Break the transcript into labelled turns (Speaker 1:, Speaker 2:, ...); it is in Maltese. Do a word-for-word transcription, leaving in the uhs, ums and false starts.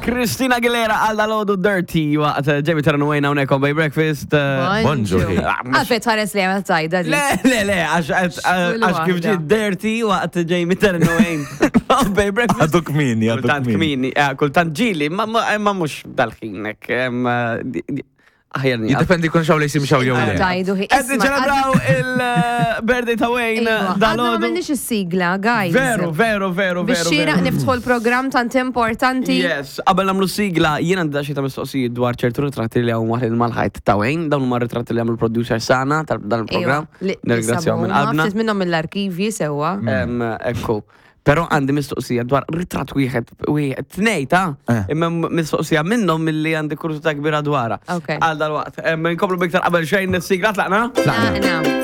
Speaker 1: Christina Aguilera għal dal-għodu Dirty waqt Jamie Terran Wayne hawnhekk on Bay Breakfast. eh,
Speaker 2: Bonġu.
Speaker 3: Għalfejn tħares li għamil tajda di.
Speaker 1: Le, le, le, għax għax għax kif ġi Dirty waqt Jamie Terran Wayne on Bay Breakfast.
Speaker 2: Għadu kmini, għadu
Speaker 1: Kultant
Speaker 2: kmini.
Speaker 1: kmini, eh, kultant ġili, ma ma ma mux dal-ħin, hekk, em, eh, di- di- aħjar nieqaf.
Speaker 2: Jiddependi kun xaw li jisim xaw jew le.
Speaker 3: Tajdu hi.
Speaker 1: Qed niċċelebraw il-birthday ta' Wayne
Speaker 3: Għadna ma
Speaker 1: dal-għodu.
Speaker 3: għamilniex is-sigla, guys.
Speaker 1: Veru, veru, veru,
Speaker 3: Biex
Speaker 1: veru.
Speaker 3: xieraq
Speaker 1: veru.
Speaker 3: niftħu l-programm tant importanti.
Speaker 1: Yes, qabel nagħmlu sigla, jien għandi xi ta' mistoqsijiet dwar ċertu ritratti li hawn waħed mal-ħajt ta' Wayne, dawn huma ritratti li għamlu producer sana tal dan il-programm. Nirringrazzjaw minn qalbna.
Speaker 3: Ftit minnhom mill-arkivji sewwa.
Speaker 1: Em, Ekku. Però għandi mistoqsija dwar ritratt wieħed, wieħed, tnej ta'
Speaker 2: Eh.
Speaker 1: imma mistoqsija minnhom milli għandi kurżità kbira dwarha.
Speaker 3: Ok.
Speaker 1: Għal dal-waqt. Em, Nkomplu biktar qabel xejn is-sigla tlaqna?
Speaker 3: Tlaqna.